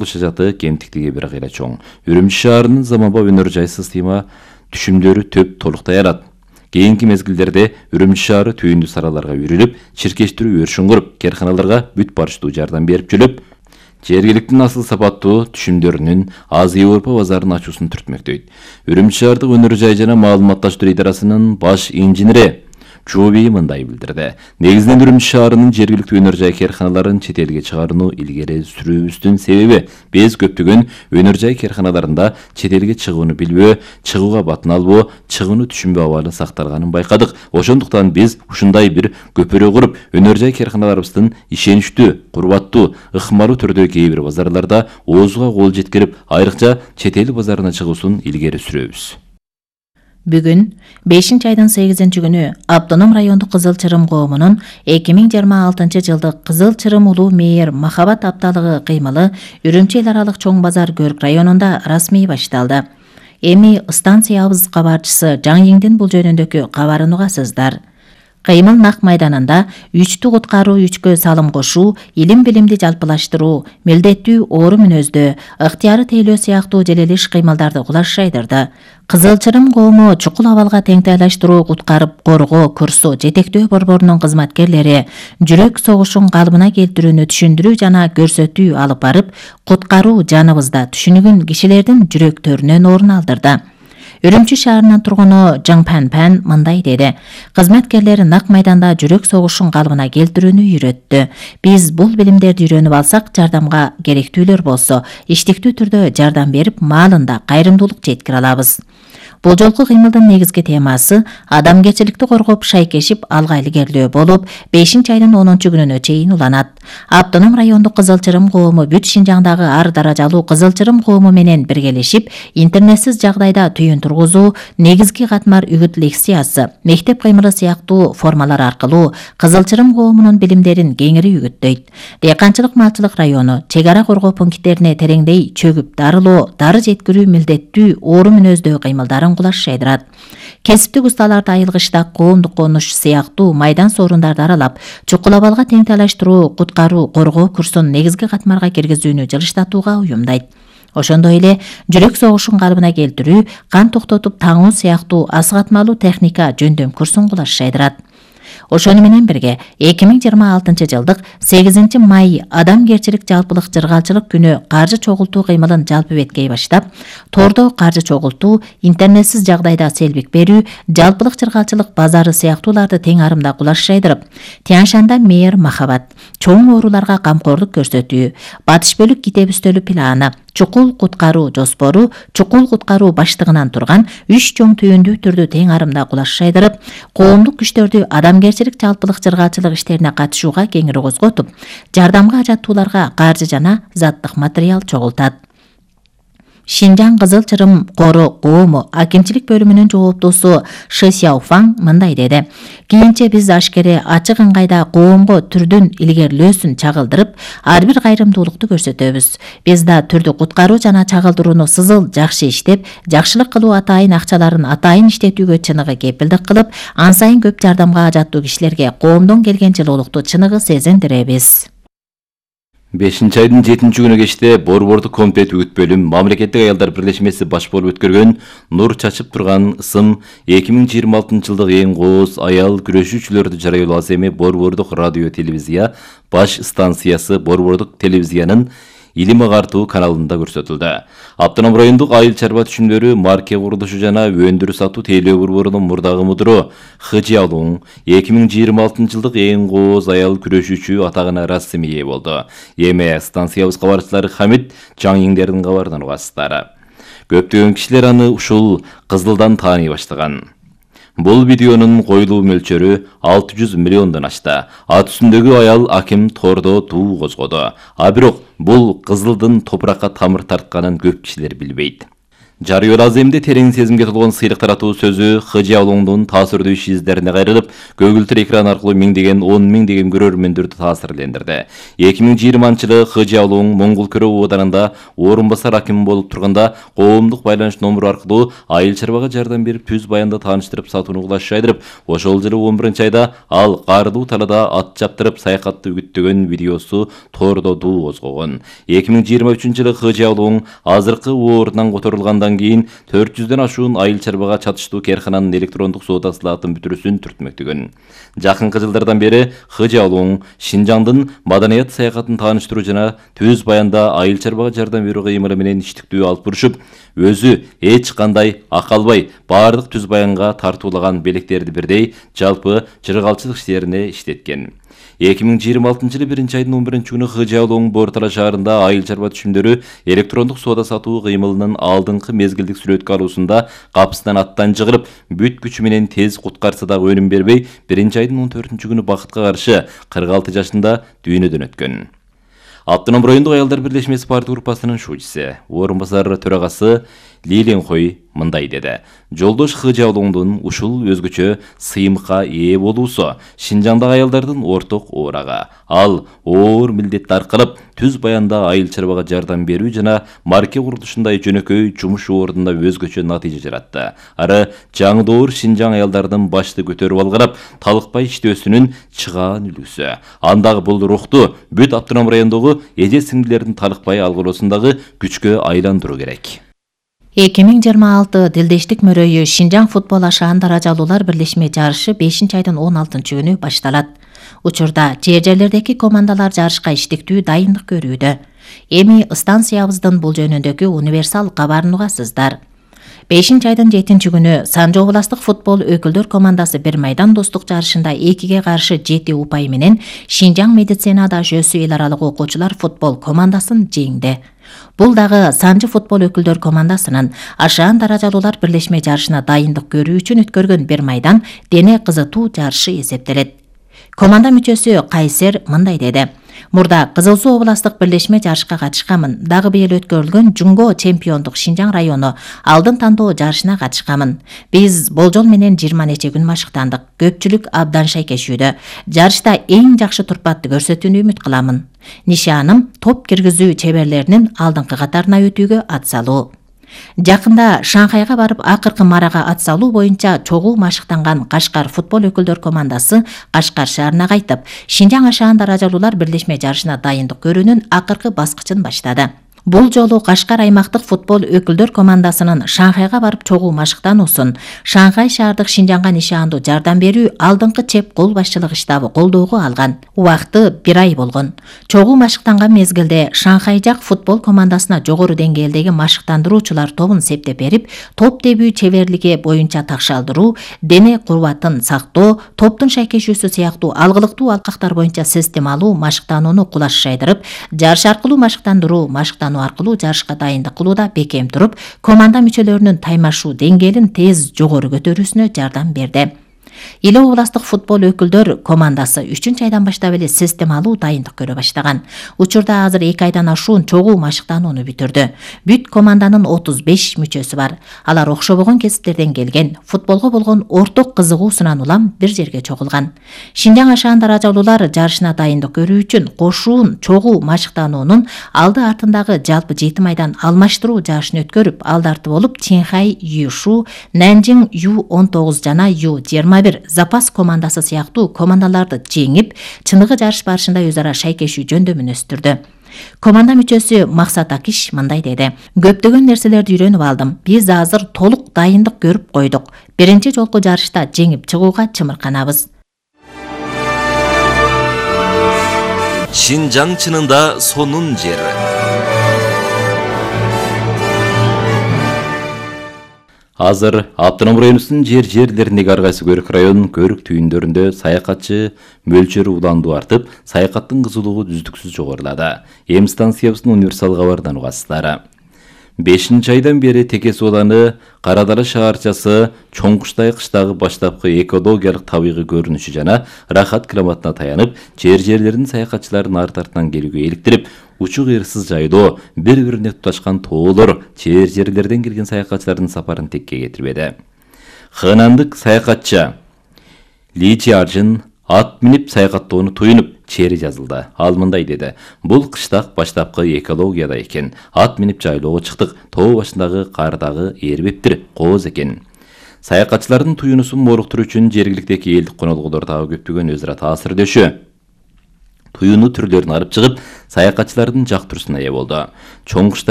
Шажаты кемтиктиги бир кыйра чоң. Үрүмчү шаарынын заманбап өнөр жай система түшүмдөрү төп толуктай арат. Кийинки мезгилдерде Үрүмчү шаары түйүндү сараларга үйрүлүп, чиркештирүү өршүн куруп, карханаларга бүт барыштуу жардам берип жүрүп, жергиликтин асыл сапаттуу түшүмдөрүнүн Азия Европа базарын ачуусун түртмөктөйт. Үрүмчү шаардык өнөр жай жана маалыматташтыруу идарасынын баш инженери Чуби мындай билдирди. Негизинен Үрүмчү шаарынын жергиликтүү өнөр жай карханаларын чет элге чыгарууну илгери сүрүүбүздүн себеби биз көптөгөн өнөр жай карханаларында чет элге чыгууну билбөө, чыгууга батын албоо, чыгууну түшүнбөө абалы сакталганын байкадык. Ошондуктан биз ушундай бир көпүрө куруп, өнөр жай карханаларыбыздын ишеничтүү, курбаттуу, ыкмалуу түрдө кээ бир базарларда оозуга кол жеткирип, айрыкча чет эл базарына чыгуусун илгери сүрөбүз. Бүгүн 5-айдын 8-күнү Автоном райондук Кызыл Чырым коомунун 2026-жылдык Кызыл Чырым улуу мээр Махабат апталыгы кыймылы Үрүмчү эл аралык чоң базар көрк районунда расмий башталды. Эми станциябыз кабарчысы Жаң Йиңдин бул жөнүндөгү кабарын угасыздар. Кыймыл нак майданында үчтү куткаруу, үчкө салым кошуу, илим билимди жалпылаштыруу, милдеттүү оору мүнөздө, ыктыяры тейлөө сыяктуу желелиш кыймылдарды кулаш жайдырды. Кызыл Чырым коому чукул абалга теңтайлаштыруу, куткарып коргоо курсу жетектөө борборунун кызматкерлери жүрөк согушун калыбына келтирүүнү түшүндүрүү жана көрсөтүү алып барып, куткаруу жаныбызда түшүнүгүн кишилердин жүрөктөрүнөн орун алдырды. Үрүмчү шаарынын тургуну Жаң Пан мындай деди. Кызматкерлер нак майданда жүрөк согушун калыбына келтирүүнү үйрөттү. Биз бул билимдерди үйрөнүп алсак, жардамга керектүүлөр болсо, иштиктүү түрдө жардам берип, маалында кайрымдуулук жеткире алабыз. Бул жолку кыймылдын негизги темасы адамгерчиликти коргоп, шайкешип, алга илгерлөө болуп, 5-айдын 10-күнүнө чейин уланат. Автоном райондук Кызыл Чырым коому бүт Шинжаңдагы ар даражалуу Кызыл Чырым коому менен биргелешип, интернетсиз жагдайда түйүн тургузуу, негизги катмар үгүт лекциясы, мектеп кыймылы сыяктуу формалар аркылуу Кызыл Чырым коомунун билимдерин кеңири үгүттөйт. Дыйканчылык малчылык району, чек ара коргоо пункттерине тереңдей чөгүп дарылоо, дары жеткирүү, милдеттүү оору мүнөздөө кыймылдарын кулаш жайдырат. Кесиптик усталарды айылгычта коомдук конуш сыяктуу майдан сорундарды аралап, чукул абалга теңтайлаштыруу, куткаруу, коргоо курсун негизги катмарга киргизүүнү жылыштатууга уюмдайт. Ошондой эле жүрөк согушун калыбына келтирүү, кан токтотуп таңуу сыяктуу асыгатмалуу техника жөндөм курсун кулаш жайдырат. Ошону менен бирге 2026-жылдык 8-май адамгерчилик жалпылык жыргалчылык күнү каржы чогултуу кыймылын жалпы беткей баштап, тордо каржы чогултуу, интернетсиз жагдайда селбик берүү, жалпылык жыргалчылык базары сыяктууларды тең арымда кулаш жайдырып, Тяньшанда мээр Махабат, чоң ооруларга камкорлук көрсөтүү, батыш бөлүк китеп үстөлү планы, чукул куткаруу жоспору, чукул куткаруу баштыгынан турган 3 чоң түйүндүү түрдү тең арымда кулаш жайдырып, коомдук күчтөрдү адамгерчилик жалпылык жыргалчылык иштерине катышууга кеңири козготуп, жардамга ажаттууларга каржы жана заттык материал чогултат. Шинжаң Кызыл Чырым кору коому акимчилик бөлүмүнүн жооптуусу Ши Сяофаң мындай деди. Кийинче биз ашкере ачык ыңгайда коомго түрдүн илгерилөөсүн чагылдырып, ар бир кайрымдуулукту көрсөтөбүз. Биз да түрдү куткаруу жана чагылдырууну сызыл жакшы иштеп, жакшылык кылуу атайын акчаларын атайын иштетүүгө чыныгы кепилдик кылып, ан сайын көп жардамга ажаттуу кишилерге коомдон келген жылуулукту чыныгы сезиндиребиз. 5-айдын 7-күнү кечте Борбордук комитет үгүт бөлүм Мамлекеттик аялдар бирлешмеси баш болуп өткөргөн Нур чачып турган ысым 2026-жылдык эң кооз аял күрөшүүчүлөрдү жарыялоо эми Борбордук радио телевизия баш станциясы Борбордук телевизиянын илим агартуу каналында көрсөтүлдү. Автоном райондук айыл чарба түшүмдөрү марке курулушу жана өндүрүү сатуу тейлөө борборунун мурдагы мудуру Хыжиалуң 2026-жылдык эң кооз аял күрөшүүчү атагына расмий ээ болду. Эми станциябыз кабарчылары Хамит Жаң Йиңдердин кабарынан угасыздар. Көптөгөн кишилер аны ушул кызылдан тааный баштаган. Бул видеонун коюлуу мөлчөрү 600 миллиондон ашты. Ат үстүндөгү аял аким тордо туу козгоду. А бирок бул кызылдын топуракка тамыр тартканын көп кишилер билбейт. Жарыйол аземде терең сезимге толгон сыйлык таратуу сөзү Хыжыаулуңдун таасирдүү ишиздерине кайрылып, көгүлтүр экран аркылуу миңдеген, 10 миңдеген көрөрмөндөрдү таасирлендирди. 2020-жылы Хыжыаулуң Моңгол Көрө ооданында орун басар аким болуп турганда коомдук байланыш номуру аркылуу айыл чарбага жардам берип, түз баянды тааныштырып сатууну кылышайдырып, ошол жылы 11-айда ал каардуу талаада ат чаптырып саякатты үгүттөгөн видеосу тордо дуу козгогон. 2023-жылы Хыжыаулуң азыркы оорунан которулгандан кийин 400дөн ашуун айыл чарбага чатыштуу керкананын электрондук соода сылаатын бүтүрүүсүн түртмөктөгөн. Жакынкы жылдардан бери Хыжыаулуң Шинжаңдын маданият саякатын тааныштыруу жана түз баянда айыл чарбага жардам берүү кыймылы менен иштиктүү алып бурушуп, өзү эч кандай ак албай баардык түз баянга тартуулаган белектерди бирдей жалпы жыргалчылык иштерине иштеткен. 2026-жылы 1-айдын 11-күнү Хыжыаулуң Бортала шаарында айыл чарба түшүмдөрү электрондук соода сатуу кыймылынын алдыңкы мезгилдик сүрөткө алуусунда капысынан аттан жыгырып, бүт күчү менен тез куткарса дагы өнүм бербей, 1-айдын 14-күнү бакытка каршы 46 жашында дүйнөдөн өткөн. Автоном райондук аялдар бирлешмеси партия группасынын шуучусу, орун басар төрагасы Лиленхой мындай деди. Жолдош Хыжыаулуңдун ушул өзгөчө сыйымыкка ээ болуусу Шинжаңдагы аялдардын орток оорага. Ал оор милдетти аркалап, түз баянда айыл чарбага жардам берүү жана марке курулушундай жөнөкөй жумуш ордунда өзгөчө натыйжа жаратты. Ары жаңдоор Шинжаң аялдардын башты көтөрүп алгырап, талыкпай иштөөсүнүн чыгаан үлгүсү. Андагы бул рухту бүт автоном райондогу эже сиңдилердин талыкпай алгыроосундагы күчкө айландыруу керек. 2026 Дилдештик мөрөйү Шинжаң футбол ашаан даражалуулар бирлешме жарышы 5-айдын 16-күнү башталат. Учурда жер-жерлердеги командалар жарышка иштиктүү дайындык көрүүдө. Эми станциябыздын бул жөнүндөгү универсал кабарын угасыздар. 5-айдын 7-күнү Санжы областык футбол өкүлдөр командасы бир майдан достук жарышында 2-ге каршы 7 упай менен Шинжаң медицина дашөөсү эл аралык окуучулар футбол командасын жеңди. Бул дагы Санжы футбол өкүлдөр командасынын ашаан даражалуулар бирлешме жарышына дайындык көрүү үчүн өткөргөн бир майдан дене кызытуу жарышы эсептелет. Команда мүчөсү Кайсер мындай деди. Мурда Кызыл Суу областык бирлешме жарышка катышканмын. Дагы быйыл өткөрүлгөн Жунго чемпиондук Шинжаң району алдын тандоо жарышына катышканмын. Биз болжол менен 20 нече күн машыктандык. Көпчүлүк абдан шайкешүүдө. Жарышта эң жакшы турпатты көрсөтүүнү үмүт кыламын. Нишаным топ киргизүү чеберлеринин алдыңкы катарына өтүүгө атсалуу. Жакында Шанхайга барып акыркы марага атсалуу боюнча чогуу машыктанган Кашкар футбол өкүлдөр командасы Кашкар шаарына кайтып, Шинжаң ашаан даражалуулар бирлешме жарышына дайындык көрүүнүн акыркы баскычын баштады. Бул жолу Кашкар аймактык футбол өкүлдөр командасынын Шанхайга барып чогуу машыктануусун Шанхай шаардык Шинжаңга нишаандуу жардам берүү алдыңкы чеп кол башчылык штабы колдоого алган. Убакыты 1 ай болгон. Чогуу машыктанган мезгилде Шанхай жак футбол командасына жогору деңгээлдеги машыктандыруучулар тобун септеп берип, топ тебүү чеберлиги боюнча такшалдыруу, дене кубатын сактоо, топтун шайкешүүсү сыяктуу алгылыктуу алкактар боюнча системалуу машыктанууну кулаш шайдырып, жарыш аркылуу машыктандыруу аркылуу жарышка дайындык кылууда бекем туруп, команда мүчөлөрүнүн таймашуу деңгээлин тез жогору көтөрүүсүнө жардам берди. Эл областык футбол өкүлдөр командасы 3-айдан баштап эле системалуу дайындык көрө баштаган. Учурда азыр 2 айдан ашуун чогуу машыктанууну бүтүрдү. Бүт команданын 35 мүчөсү бар. Алар окшобогон кесиптерден келген, футболго болгон орток кызыгуусунан улам бир жерге чогулган. Шинжаң ашаан даражалуулар жарышына дайындык көрүү үчүн кошуун чогуу машыктануунун алды артындагы жалпы 7 айдан алмаштыруу жарышын өткөрүп, алдарты болуп Чинхай Юшу, Нанжиң Ю-19 жана Ю-21 запас командасы сыяктуу командаларды жеңип, чыныгы жарыш барышында өз ара шайкешүү жөндөмүн өстүрдү. Команда мүчөсү Максат Акиш мындай деди. Көптөгөн нерселерди үйрөнүп алдым. Биз азыр толук дайындык көрүп койдук. Биринчи жолку жарышта жеңип чыгууга чымырканабыз. Шинжаң чынында сонун жери. Азыр автоном районунун жерлериндеги ар кайсы көрүк район көрүк түйүндөрүндө саякатчы мөлчөрү уландуу артып, саякаттын кызуулугу үздүксүз жогорулады. Эми станциябыздын универсал кабарынан угасыздар. 5 айдан бери Текес ауданы Кара Дара шаарчасы Чоңкуштай кыштагы баштапкы экологиялык табигый көрүнүшү жана рахат климатына таянып, жерлердин саякатчыларын арт артынан келүүгө иликтирип, учук ырсыз жайдоо, бири-бирине туташкан тоолор жерлерден келген саякатчылардын сапарын текке кетирбеди. Хынандык саякатчы Ли Чиаржин ат минип саякаттоону туюнуп, чери жазылды. Ал мындай деди: "Бул кыштак баштапкы экологияда экен. Ат минип жайлоого чыктык. Тоо башындагы кардагы эрбептир, кооз экен." Саякатчылардын туюнусун моруктуруу үчүн жергиликтеги элдик конолгулар дагы көптөгөн өз ара таасирдешүү. Туюну түрлөрүн алып чыгып, саякатчылардын жактыруусуна ээ болду. Чоңкуштай